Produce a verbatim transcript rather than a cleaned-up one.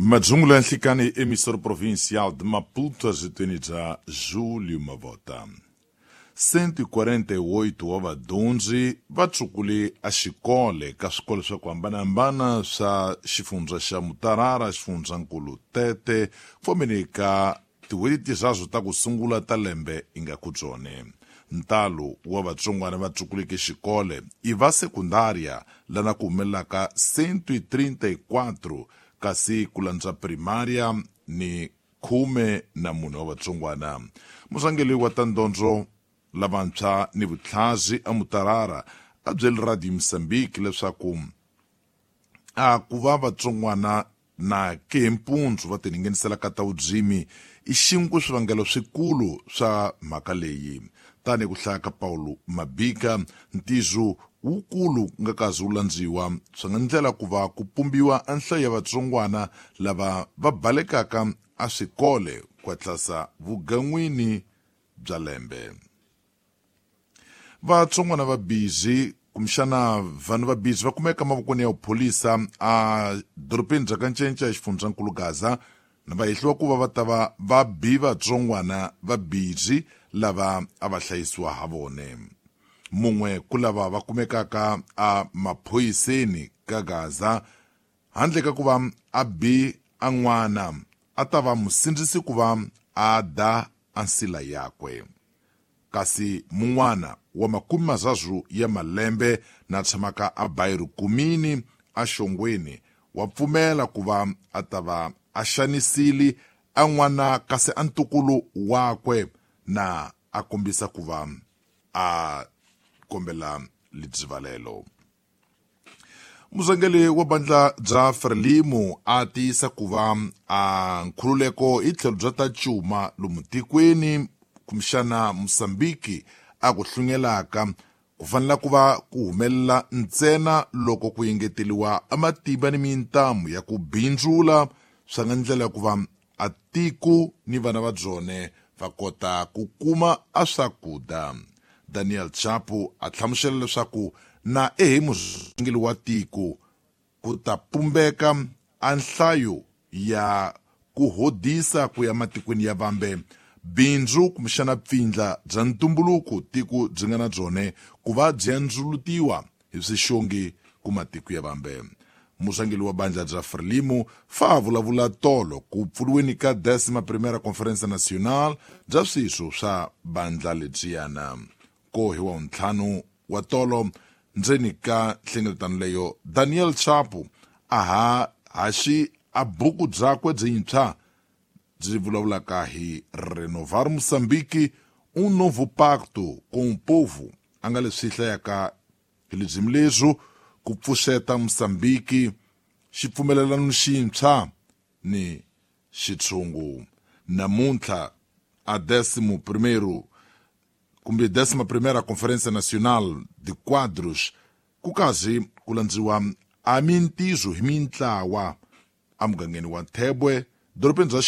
Madzungulo ya nhlikani emissora provincial de Maputo azitweni bya Julio Mavota. cento e quarenta e oito wa vadyondzi va tsukule a xikole ka swikolo swa ku hambanahambana swa xifundza xa Mutarara, xifundzankulu Tete, fomeni ka tin'hweti tiraru ta ku sungula ta lembe i nga ku byone. Ntalo wa vatsongwana va tsukuleke xikole i va sekundaria lana ku humelelaka cento e trinta e quatro kasi ku landza primaria ni khume na mune wa vatsongwana. Murhangeri wa ta ndondzo lavantshwa ni vutlhazi a Mutarara a byele Radio Mozambique leswaku a ku va vatsongwana na ke hi mpundzu va tiningenisela ka ta vudzimi i xin'we swivangelo swikulu swa mhaka leyi. Tanihi ku hlaya ka Paulo Mabika, ntizo wukulu nga kazi wu landziwa swi nga ndlela ku va ku pumbiwa a nhlayo ya vatsongwana lava va balekaka a swikole ku hatlasa vugan'wini bya lembe. Vatsongwana va bizi kumbexana vanhu va bizi va kumeka mavokweni ya vupholisa a dorobeni bya Kancinca exifundzankulu Gaza na va hehliwa ku va va ta va va bi vatsongwana va bizi lava a va hlayisiwa ha vone. Mun'we ku lava va kumekaka a maphoyiseni ka Gaza handle ka ku va a bi a n'wana a ta va musindzisi ku va a da a nsila yakwe. Kasi mun'wana wa makume mararu ya malembe na tshamaka a Bairro Kumini a Xongweni wa pfumela ku va a ta va a xanisile a n'wana kasi a ntukulu wakwe na a kombisa ku va a kombela lidzivalelo. Murhangeri wa bandla bya Frelimo a tiyisa ku va a nkhululeko hi tlhelo bya ta cuma lomu tikweni kumbexana Mozambique a ku hlungelaka ku fanela ku va ku humelela ntsena loko ku engeteliwa a matimba ni mintamu ya ku bindzula swa nga ndlela ya ku va a tiko ni vana va byone va kota ku kuma a swakudya. Daniel Chapo a hlamusela leswaku na ehe murhangeri wa tiko ku ta pumbeka a nhlayo ya ku hodisa ku ya matikweni ya vambe bindzu kumbexana pfindla bya ntumbuluko tiko byi nga na byone ku va byi andzulutiwa hi swixongi ku matiko ya vambe. Murhangeri wa bandla bya Frelimo fa vulavula tolo ku pfuriweni ka décima primeira Conferência Nacional bya swiswo swa bandla lebyiyana. Ko hi wa ntlhanu wa tolo ndzeni ka nhlengeletano leyo Daniel Chapo a ha haxi a buku byakwe byintshwa byi vulavulaka hi Renovar Moçambique, um novo pacto com o povo, a nga leswi hlayaka hi lebyi leswo ku pfuxeta Moçambique xipfumelelano xintshwa ni xitshungu. Namuntlha a décimo primeiro kumbe décima primeira Conferência Nacional de Quadros ku kazi ku landziwa a mintizo hi mintlawa emugangeni wa Thebwe dorobeni bya